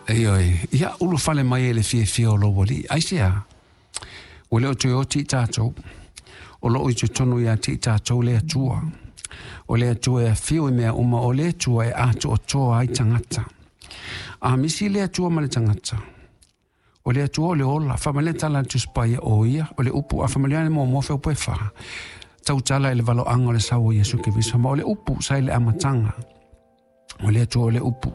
Ioe, ia ulufale mai e le fiafia o lou Alii. Aisea? Ua le o toe oti i tatou, o loo i totonu ia te i tatou le Atua. O le Atua e afio i mea uma, o le Atua e atoatoa ai tagata. A misi le Atua ma le tagata, o le Atua o le ola, faamalia tala a le Tusi Paia o ia, o le upu, a faamalia le muamua feupu e fa, tautala i le valoaga o le sau o Iesu Keriso, ma o le upu sa i le amataga, o le Atua o le upu.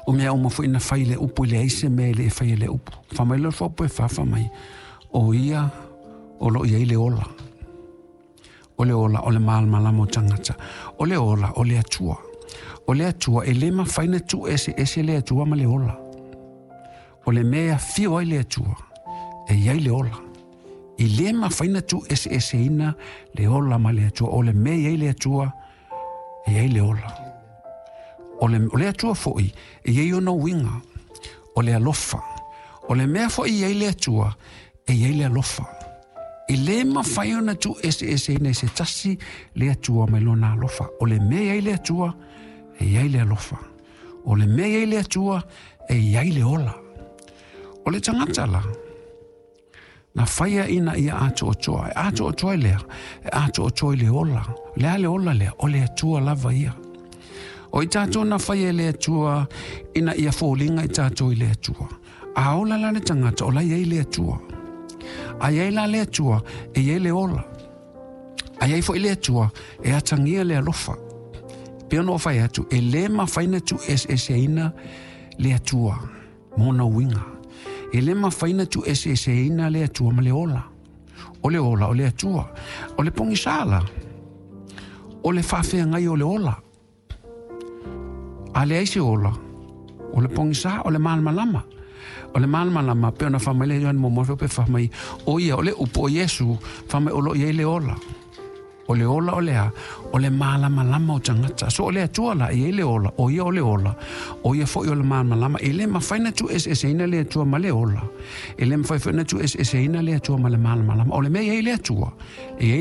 O mea uma foi na fai le upu, e leai se mea e le e fai e le upu. Fa mai le faupu e fa, fa mai, o ia o lo o i ai le ola. O le ola o le malamalama o tagata. O le ola o le Atua. O le Atua e le mafai ona tuueseese le Atua ma le ola. O le mea e afio ai le Atua, e i ai le ola. E le mafai ona tuueseeseina le ola ma le Atua. O le mea e i ai le Atua, e i ai le ola. O le Atua foi, e i ai ona uiga, o le alofa. O le mea foi e i ai le Atua, e i ai le alofa. E le mafai ona tuueseeseina e se tasi le Atua mai lona alofa. O le mea e i ai le Atua, e i ai le alofa. O le mea e i ai le Atua, e i ai le ola. O le tagata la, na faia ina ia atoatoa. E atoatoa i lea, e atoatoa i le ola. Le a le ola lea, o le Atua lava ia. O i tatou na faia e le Atua ina ia foliga i tatou i le Atua. A ola la le tagata, o la i ai le Atua. A i ai la le Atua, e i ai le ola. A i ai foi le Atua, e atagia le alofa. Pei ona ou fai atu, e le mafai ona tuueseeseina le Atua ma ona uiga. E le mafai ona tuueseeseina le Atua ma le ola. O le ola o le Atua. O le pogisa la, o le faafeagai o le ola. A leai se ola, o le pogisa, o le malamalama. O le malamalama, pei ona fai mai le Ioane muamua pe fai mai, o ia, o le upu o Iesu, fai mai o lo o i ai le ola. O le ola o le a? O le malamalama o tagata. So o le Atua la, e i ai le ola, o ia o le ola, o ia foi o le malamalama. E le mafai ona tuueseeseina le Atua ma le ola. E le mafai foi ona tuueseeseina le Atua ma le malamalama. O le mea e i ai le Atua, e i ai